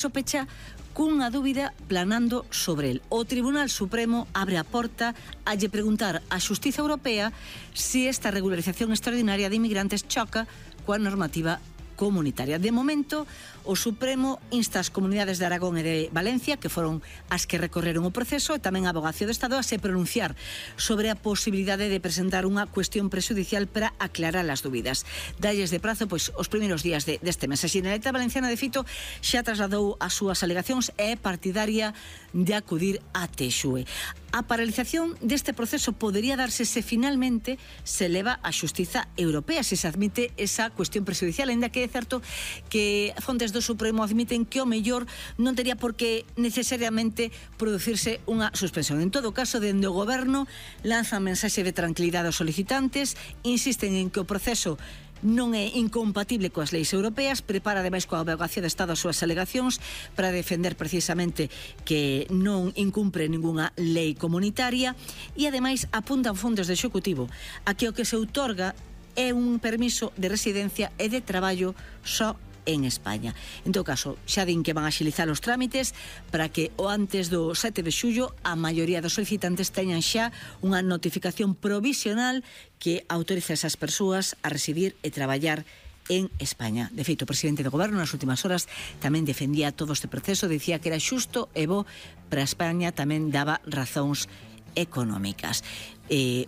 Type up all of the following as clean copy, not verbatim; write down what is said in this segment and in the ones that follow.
pecha cunha dúbida planando sobre el. O Tribunal Supremo abre a porta a lle preguntar á Xustiza Europea se esta regularización extraordinaria de inmigrantes choca coa normativa comunitaria. De momento, o Supremo insta as comunidades de Aragón e de Valencia, que foron as que recorreron o proceso, e tamén a Abogacía do Estado a se pronunciar sobre a posibilidade de presentar unha cuestión prexudicial para aclarar as dúbidas. Dalles de prazo, pois, os primeiros días deste mes. A Xeneralitat Valenciana, de feito, xa trasladou as súas alegacións e é partidaria de acudir a Texue. A paralización deste proceso podería darse se finalmente se leva a Xustiza Europea, se se admite esa cuestión prexudicial, ainda que é certo que fontes do Supremo admiten que o mellor non tería por que necesariamente producirse unha suspensión. En todo caso, dende o Goberno lanzan mensaxe de tranquilidade aos solicitantes, insisten en que o proceso non é incompatible coas leis europeas, prepara ademais coa Abogacía do Estado as súas alegacións para defender precisamente que non incumpre ningunha lei comunitaria e ademais apuntan fondos do Executivo a que o que se outorga é un permiso de residencia e de traballo só en España. En todo caso, xa din que van a axilizar os trámites para que o antes do 7 de xullo a maioría dos solicitantes teñan xa unha notificación provisional que autoriza a esas persoas a residir e traballar en España. De feito, o presidente do Goberno nas últimas horas tamén defendía todo este proceso, dicía que era xusto e bo para España, tamén daba razóns económicas.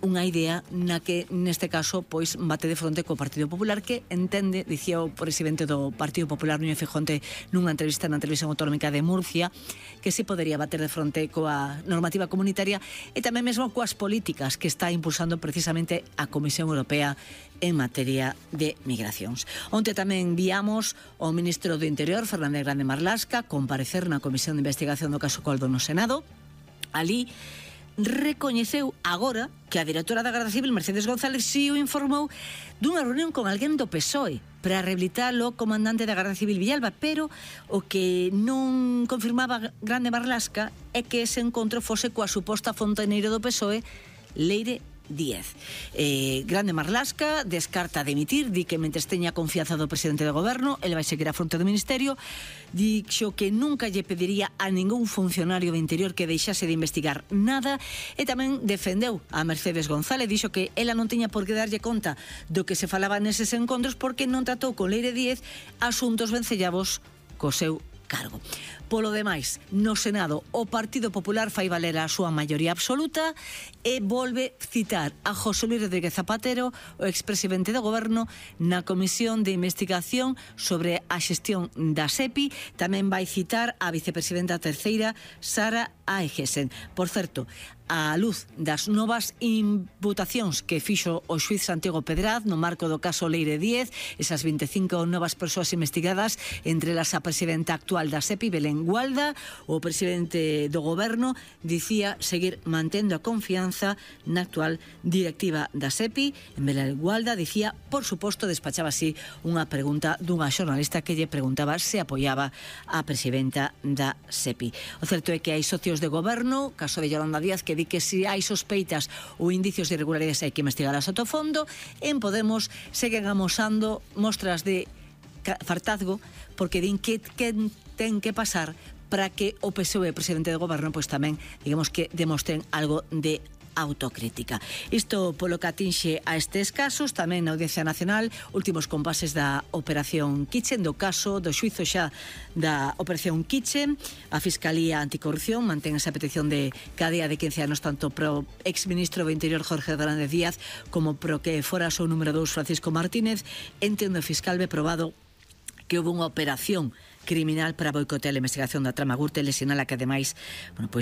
Unha idea na que neste caso pois bate de fronte co Partido Popular, que entende, dicía o presidente do Partido Popular Núñez Feijóo nunha entrevista na Televisión Autonómica de Murcia, que si podería bater de fronte coa normativa comunitaria e tamén mesmo coas políticas que está impulsando precisamente a Comisión Europea en materia de migracións. Onte tamén viamos o ministro do Interior, Fernández Grande Marlaska, comparecer na Comisión de Investigación do caso Coldo no Senado. Ali recoñeceu agora que a directora da Garda Civil, Mercedes González, si o informou dunha reunión con alguén do PSOE para rehabilitar o comandante da Garda Civil Villalba, pero o que non confirmaba Grande Marlaska é que ese encontro fose coa suposta fontaneira do PSOE, Leire Díez. Grande Marlaska descarta dimitir, di que mentres teña confianza do presidente do Goberno, el vai seguir a fronte do Ministerio, dixo que nunca lle pediría a ningún funcionario de Interior que deixase de investigar nada, e tamén defendeu a Mercedes González, dixo que ela non tiña por que darlle conta do que se falaba neses encontros porque non tratou con Leire Díez asuntos vencellabos co seu cargo. Polo demais, no Senado, o Partido Popular fai valer a súa maioría absoluta e volve citar a José Luis Rodríguez Zapatero, o expresidente do Goberno, na Comisión de Investigación sobre a xestión da SEPI. Tamén vai citar a vicepresidenta terceira, Sara Aegesen. Por certo, a luz das novas imputacións que fixo o xuiz Santiago Pedraz no marco do caso Leire Díez, esas 25 novas persoas investigadas, entre elas a presidenta actual da SEPI, Belén Gualda, o presidente do Goberno dicía seguir mantendo a confianza na actual directiva da SEPI. En Belén Gualda dicía, por suposto, despachaba así unha pregunta dunha xornalista que lle preguntaba se apoiaba a presidenta da SEPI. O certo é que hai socios de Goberno, caso de Yolanda Díaz, que di que se hai sospeitas ou indicios de irregularidades hai que investigarlas a fondo. En Podemos seguen amosando mostras de fartazgo porque din que ten que pasar para que o PSOE, presidente do Goberno, pois tamén, digamos que demostren algo de autocrítica. Isto polo que atinxe a estes casos. Tamén na Audiencia Nacional, últimos compases da Operación Kitchen, do caso do xuizo xa da Operación Kitchen. A Fiscalía Anticorrupción mantén esa petición de cadea de 15 anos tanto pro exministro do Interior Jorge Fernández Díaz como pro que fora o seu número 2 Francisco Martínez. Entendo o fiscal ve probado que houve unha operación criminal para boicotear a investigación da trama Gürtel, e sinala que ademais,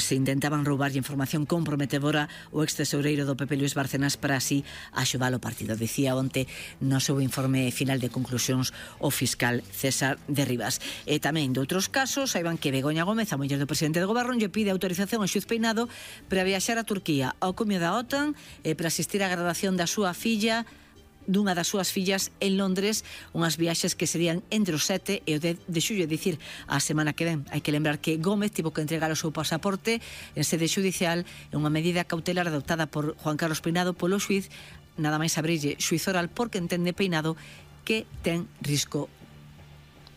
se intentaban roubar información comprometedora o ex-tesoureiro do PP Luis Bárcenas para así axudar o partido. Dicía onte no seu informe final de conclusións o fiscal César de Rivas. E tamén de outros casos, saiban que Begoña Gómez, a muller do presidente do Goberno, lle pide autorización ao xuiz Peinado para viaxar a Turquía ao cumio da OTAN e para asistir á graduación da súa filla, dunha das súas fillas, en Londres, unhas viaxes que serían entre o 7 e o 10 de xullo, é dicir, a semana que ven. Hai que lembrar que Gómez tivo que entregar o seu pasaporte en sede judicial en unha medida cautelar adoptada por Juan Carlos Peinado polo xuiz, nada máis abrirlle xuiz oral porque entende Peinado que ten risco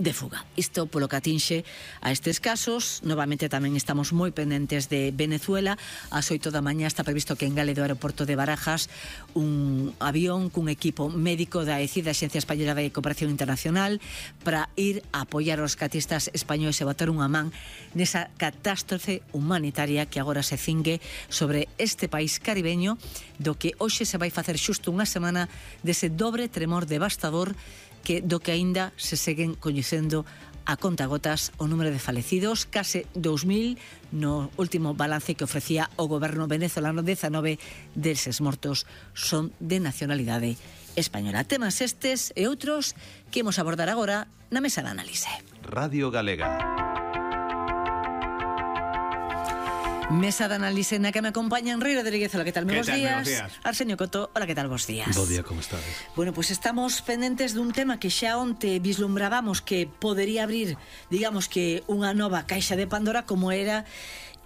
de fuga. Isto polo que atinxe a estes casos. Novamente tamén estamos moi pendentes de Venezuela. Ás 8 da mañá está previsto que engale do aeroporto de Barajas un avión cun equipo médico da ECI, da Axencia Española de Cooperación Internacional, para ir a apoiar aos rescatistas españoles e botar unha man nesa catástrofe humanitaria que agora se cingue sobre este país caribeño, do que hoxe se vai facer xusto unha semana dese dobre tremor devastador do que aínda se seguen coñecendo a contagotas o número de falecidos, case 2.000 no último balance que ofrecía o goberno venezolano. 19 deses mortos son de nacionalidade española. Temas estes e outros que imos abordar agora na mesa de análise. Radio Galega. Mesa de análise na que me acompañan Rui Rodríguez, hola, que tal? Moi bons días. Arsenio Coto, hola, que tal? Bos días. Bo día, como estades? Bueno, pues estamos pendentes dun tema que xa onte vislumbrábamos que podería abrir, digamos que unha nova caixa de Pandora, como era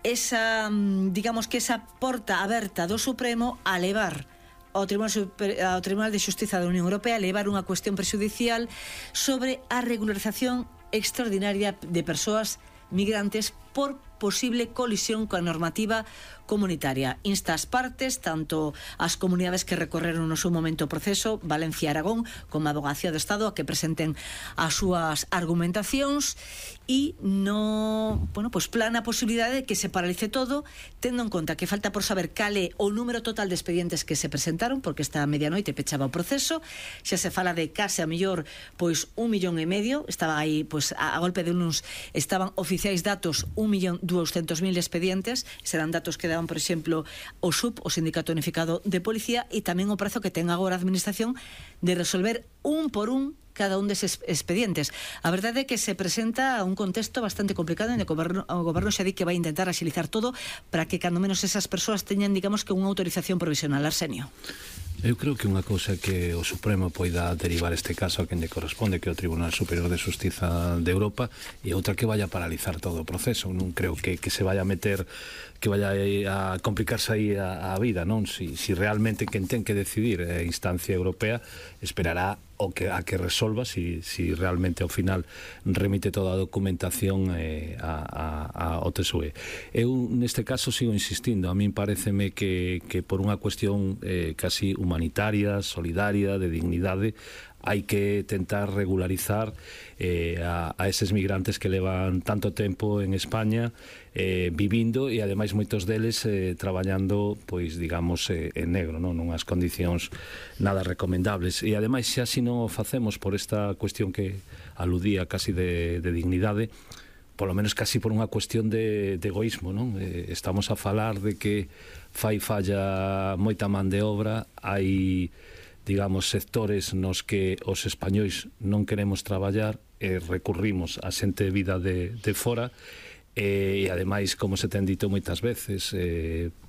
esa, digamos que esa porta aberta do Supremo a levar ao Tribunal de Xustiza da Unión Europea, levar unha cuestión prexudicial sobre a regularización extraordinaria de persoas migrantes por posible colisión coa normativa comunitaria. Insta as partes, tanto as comunidades que recorreron no seu momento o proceso, Valencia e Aragón, como a Avogacía do Estado, a que presenten as súas argumentacións, e pues plana a posibilidade de que se paralice todo, tendo en conta que falta por saber cal é o número total de expedientes que se presentaron, porque esta medianoite pechaba o proceso. Xa se fala de case a mellor 1,5 millón, estaba aí, a golpe de uns estaban oficiais datos 1.200.000 expedientes, serán datos que daban, por exemplo, o SUP, o Sindicato Unificado de Policía, e tamén o prazo que ten agora a Administración de resolver un por un cada un deses expedientes. A verdade é que se presenta un contexto bastante complicado, e o goberno xa di que vai intentar axilizar todo para que cando menos esas persoas teñan, digamos, que unha autorización provisional. Arsenio. Eu creo que unha cousa que o Supremo poida derivar este caso a quen lle corresponde, que é o Tribunal Superior de Xustiza de Europa, e outra que vaya a paralizar todo o proceso. Non creo que se vaya a meter, que vaya a complicarse aí a vida, non? Si realmente quen ten que decidir a instancia europea esperará a que resolva si realmente ao final remite toda a documentación ao TSUE. Eu neste caso sigo insistindo, a min pareceme que por unha cuestión casi humanitaria, solidaria, de dignidade, hai que tentar regularizar a eses migrantes que levan tanto tempo en España vivindo, e ademais moitos deles traballando, pois digamos, en negro, non? Nunhas condicións nada recomendables. E ademais, xa se non o facemos por esta cuestión que aludía casi de dignidade, polo menos casi por unha cuestión de egoísmo, non? Estamos a falar de que falla moita man de obra, hai, digamos, sectores nos que os españois non queremos traballar e recurrimos a xente vida de fora, e ademais, como se ten dito moitas veces,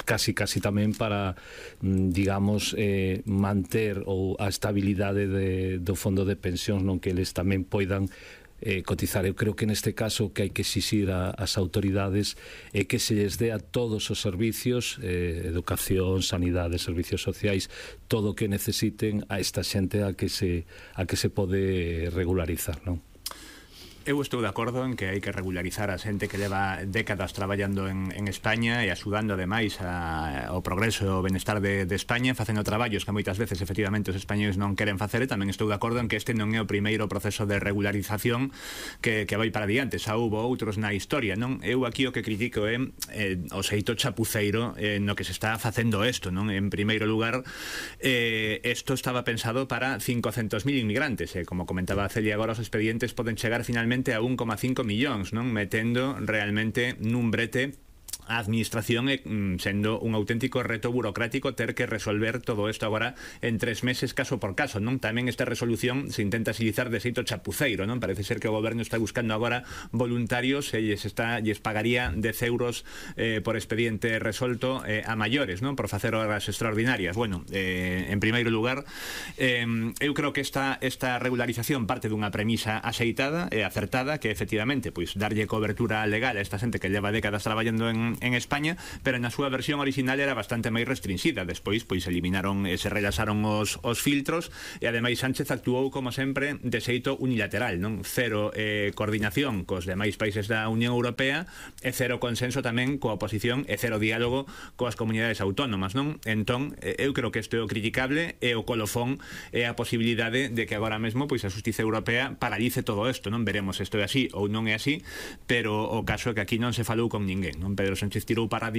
casi tamén para, digamos, manter a estabilidade do fondo de pensións, non, que eles tamén poidan cotizar. Eu creo que neste caso que hai que exixir ás autoridades é que se lles dé a todos os servicios, educación, sanidade, servicios sociais, todo o que necesiten a esta xente a que se pode regularizar, non? Eu estou de acordo en que hai que regularizar a xente que leva décadas traballando en España e axudando ademais ao progreso e ao benestar de España, facendo traballos que moitas veces efectivamente os españoles non queren facer. E tamén estou de acordo en que este non é o primeiro proceso de regularización que vai para diante, xa houbo outros na historia, non? Eu aquí o que critico é o xeito chapuceiro no que se está facendo isto, non? En primeiro lugar, isto estaba pensado para 500.000 inmigrantes, como comentaba Celia agora, os expedientes poden chegar finalmente a 1,5 millóns, non? Metendo realmente nun brete a administración, sendo un auténtico reto burocrático ter que resolver todo isto agora en 3 meses caso por caso, non? Tamén esta resolución se intenta agilizar de xeito chapuceiro, non? Parece ser que o goberno está buscando agora voluntarios e lles pagaría 10 euros por expediente resolto a maiores, non? Por facer horas extraordinarias. Bueno, en primeiro lugar, eu creo que esta regularización parte dunha premisa axeitada e acertada, que efectivamente, pois, darlle cobertura legal a esta xente que leva décadas traballando en en España, pero na súa versión original era bastante máis restringida. Despois, pois, eliminaron e se relaxaron os filtros, e ademais Sánchez actuou, como sempre, de xeito unilateral, non? Cero coordinación cos demais países da Unión Europea e cero consenso tamén coa oposición e cero diálogo coas comunidades autónomas, non? Entón, eu creo que isto é o criticable, e o colofón é a posibilidade de que agora mesmo pois a Xustiza Europea paralice todo isto, non? Veremos se isto é así ou non é así, pero o caso é que aquí non se falou con ninguén, non? Pedro Sánchez tirou para